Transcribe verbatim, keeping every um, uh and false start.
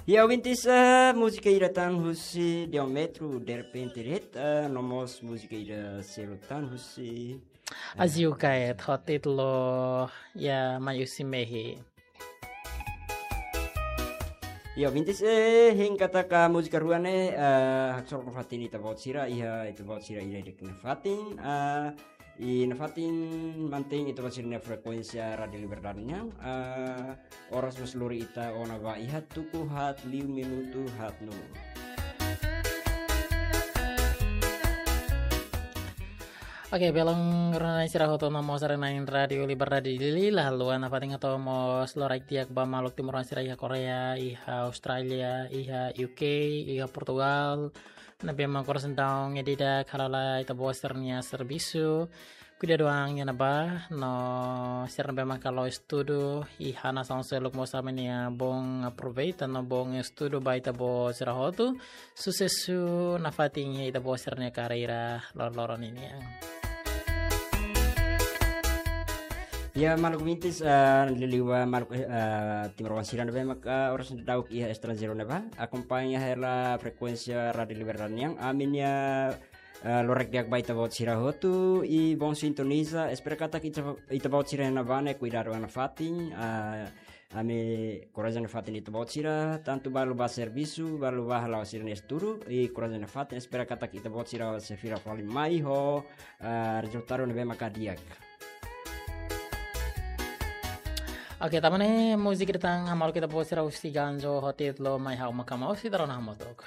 Ya, ouvintes, eh, múzika ida tan husi Diamantru, Derrepente De'it, eh, no mós múzika ida seluk tan husi, eh, Aziu Kaet, ho títulu, ya, Mai Husi Mehi. Ya, ouvintes, eh, hein katak múzika rua ne'e, eh, haksolok nafatin ita-boot sira, iha ita-boot sira ida-idak nia fatin, eh, i nafatin mantein ita-boot sira-nia frekuénsia Rádiu Liberdade nian, eh, oras mós lori ita ona ba iha tuku haat liu minutu haat nulu. Oke, belun rona-na'in sira hotu no mós sira na'in Rádiu Liberdade Dili, la haluha nafatin hato'o mós loraik di'ak ba maluk timoroan sira iha Koreia, iha Austrália, iha U K, iha Portugal, ne'ebé mak oras ne'e daudaun iha di'ak hala'o lai ita-boot sira-nia servisu, kuidadu an iha ne'ebá, no sira ne'ebé maka la'o estudu iha nasaun seluk mós ami-nia bon aproveita no bon estudu ba ita-boot sira hotu, susesu nafatin iha ita-boot sira-nia karreira loroloron ninian. Ya, maluk ouvintes, eh, liuliu ba maluk, eh, timoroan sira ne'ebé maka oras ne'e daudaun iha estranjeiru ne'ebá, akompaña hela frekuénsia Rádiu Liberdade nian, ami-nia, eh, loraik di'ak ba ita-boot sira hotu, i bon sintoniza, espera katak ita, ita-boot sira iha ne'ebá ne'e kuidadu an nafatin, eh, ami korajen nafatin ita-boot sira, tantu balu ba servisu, balu ba hala'o sira-nia estudu, i korajen nafatin, espera katak ita-boot sira sei fila fali mai ho, eh, rezultadu ne'ebé maka di'ak. Oke, tanba ne'e múzika ida tan hamaluk ita-boot sira husi Ganjo ho títulu Mai Ha'u Mak Ha'u Mak Ha'u, sira rona hamutuk.